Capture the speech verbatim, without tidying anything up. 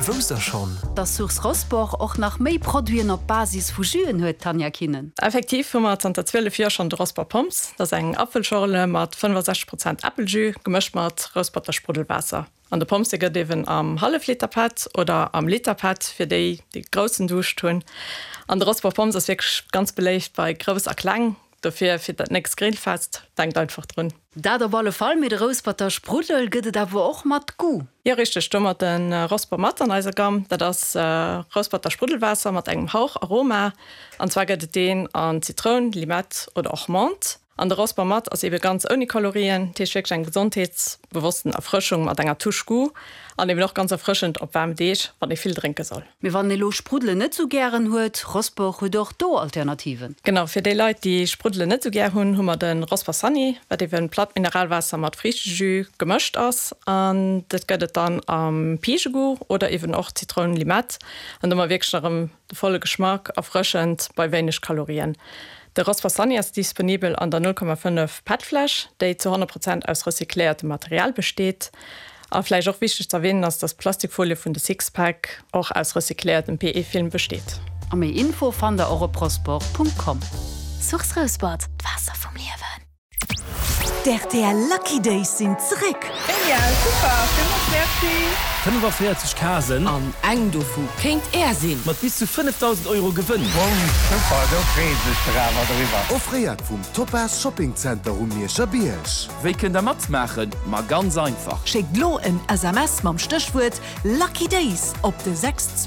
Wousst der schonn? Dass Source Rosport och nach méi Produiten op Basis vu Juen huet, Tanja Kinnen. Effektiv hu mer zanter zwielef Joer schonn de Rosport Pommes. Dat ass eng Apfelschorle mat fënnefasechzeg Prozent Äppeljus, gemëscht mat Rousperter Spruddelwaasser. An de Pommes, dee gëtt eben am Hallefliterpatt oder am Literpatt fir déi, déi groussen Duuscht hunn. An de Rosport Pommes ass wierklech ganz beléift bei Grouss a Kleng. Dofir fir dat nächst Grillfest, denkt einfach drun. Dat op alle Fall, mee de Rousperter Spruddel gëtt et awer och mat Goût. Jo richteg, do hu mer de Rosport Mat an eiser Gamm. Dat ass Rousperter Spruddelwaasser mat engem Hauch Aroma. An zwar gëtt et deen an Zitroun, Limett oder och Menthe. An de Rosport Mat ass ebe ganz ouni Kalorien, dat heescht wierklech eng gesondheetsbewossten Erfrëschung mat enger Touche Goût an eben och ganz erfrëschend op waarm Deeg, wann ee vill drénke soll. Mee wann ee lo Spruddelen net sou gären huet, Rosport huet och do Alternativen. Genau, fir déi Leit, déi Spruddelen net sou gär hunn, hu mer de Rosport Sunny, wat eben platt Mineralwaasser mat Friichtejus gemëscht ass. An dat gëtt et dann am Pigegoût oder eben och Zitroun, Limett. An do hu mer wierklech erëm de volle Geschmack, erfrëschend bei wéineg Kalorien. De Rosport Sunny ass disponibel an der null Komma fënnef PET-Fläsch, déi zu honnert Prozent aus recycléiertem Material besteet. A vläicht och wichteg ze erwänen ass, dass d'Plastikfolie vun de Sixpack och aus recycléiertem P E-Film besteet. A méi Info fannt der och op rosport Punkt com. Source Rouspert, d'Waasser vum Liewen. D'R T L Lucky Days sinn zréck! Genial, super, villmools merci! fënnefaféierzeg Casen. An eng dovu kéint Är sinn! Mat bis zu fënnefdausend Euro Gewënn. Bomm, super, do freeë sech der awer driwwer. Offréiert vum Topaz Shopping Center um Mierscher Bierg. Wéi kënnt der matmaachen? Ma ganz einfach. Schéckt lo en S M S mam Stéchwuert Lucky Days op de sechs.